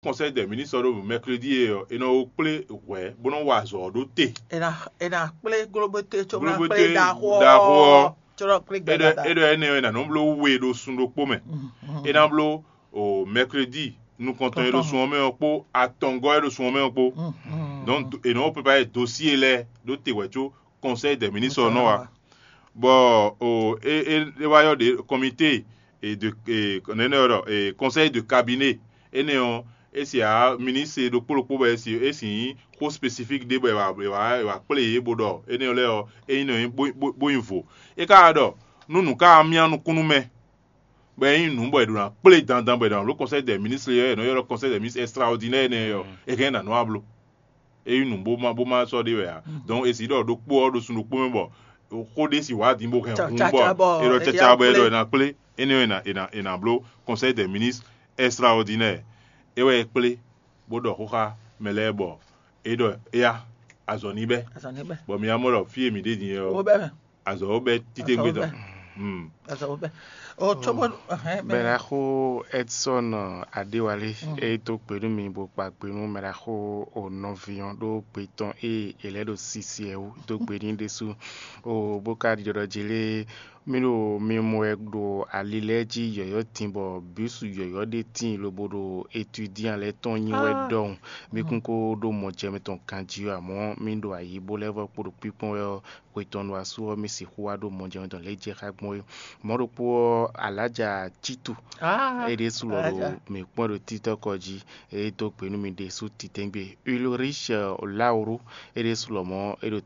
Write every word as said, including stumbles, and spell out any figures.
Conseil des ministres ɖo mercredi e ɔ́, è nɔ wo kplé hwɛ̌ bó nɔ́ wa azɔ̌ ɔ́ ɖó te. È nǎ è nǎ kplé glóbóté có ná Glóbóté kplé ɖaxó ɖaxó ɔ́. Có ná kplé é ɖɔ gbɛdada. É ɖɔ énɛ́ ɔ́, è nǎ nɔ bló we ɖo sun ɖokpó mɛ. É ná bló o mercredi nukɔntɔn e ɖo sun ɔ́ mɛ ɔ́ kpó atɔngɔ́ e ɖo sun ɔ́ mɛ ɔ́ kpó. Donc è nɔ préparé dossier lɛ́ɛ ɖó te hwɛ̌ có conseil des ministres ɔ́ nɔ wá. Bɔ o é é é wá yɔ ɖe comité et de et nɛnɛ ɔ́ ɖɔ et conseil de cabinet énɛ́ ɔ́, é si ǎ ministre ɖokpó ɖokpó bɔ é si é si nyí xó spécifique ɖé bɔ è wǎ è wǎ è wǎ kplé yě bó ɖɔ énɛ́ ɔ́ lɛ́ɛ ɔ́ é nyí nɔ bó bó bó nyí vo. É ka wá ɖɔ nú nǔ ka wá myá nukúnnú mɛ bɔ é nyí nǔ bɔ è ɖo ná kplé dandan bɔ è ɖo ná bló conseil des ministres ɔ́ è nɔ ylɔ́ conseil des ministres extraordinaire énɛ́ ɔ́, é hɛn ná nɔ wá bló. É nyí nǔ bó má bó má sɔ́ ɖé wɛ ǎ. Donc è si ɖɔ ɖokpó ɔ́ ɖo sun ɖokpó mɛ bɔ xó ɖé si wǎ din bó hɛn hun bɔ è ɖɔ caca bɔ è ɖɔ è nǎ kplé énɛ́ ɔ́ è nǎ è nǎ è nǎ bló conseil des ministres extraordinaire. É wɛ é kplé bó ɖɔ xó xá mɛ lɛ́ɛ bɔ é ɖɔ éyá azɔ̌ ní bɛ́. Azɔ̌ ní bɛ́. Bɔ mi wá mɔ ɖɔ fí e mǐ ɖe din é ɔ́, azɔ̌ ɔ́ bɛ́ títégbe tɔn. Azɔ̌ ɔ́ bɛ́. O tó bó hɛn mɛ. Mɛɖaxó Edson Adéwalé, é dó gbe nú mi bó kpa gbe nú mɛɖaxó o nɔví ɔ́ ɖó gbe tɔn ée è lɛ́ ɖo sisi ɛ wú dó gbe n'i ɖésú. O bó ka ɖiɖɔ ɖɔ jí lé mí ɖo mi mɔ wɛ ɖo ali lɛ́ɛ jí yɔ̌yɔ́ din bɔ bǐsu yɔ̌yɔ́ ɖé tíin lobo ɖo étudian lɛ́ɛ tɔn nyi wɛ ɖɔhun. Mí kún ko ɖó mɔjɛmɛ tɔn ganjí ɔ́, amɔ̌ mí ɖo ayǐ bó lɛ́ vɔ́ kpo ɖo kpíkpɔ́n wɛ ɔ́, hwe tɔn ɖo asú ɔ́ mì sixú wá ɖo mɔjɛmɛ tɔn lě jɛ xá gbɔn é. Mɔ̌ ɖokpó ɔ́, Alaja Titu é ɖésú lɔ ɖo mǐ kpɔ́n ɖo títɔ́kɔ jí, é dó gbe nú mi ɖésú titɛ́ngbe. Ulrich Lauru é ɖésú lɔ mɔ̌ é ɖo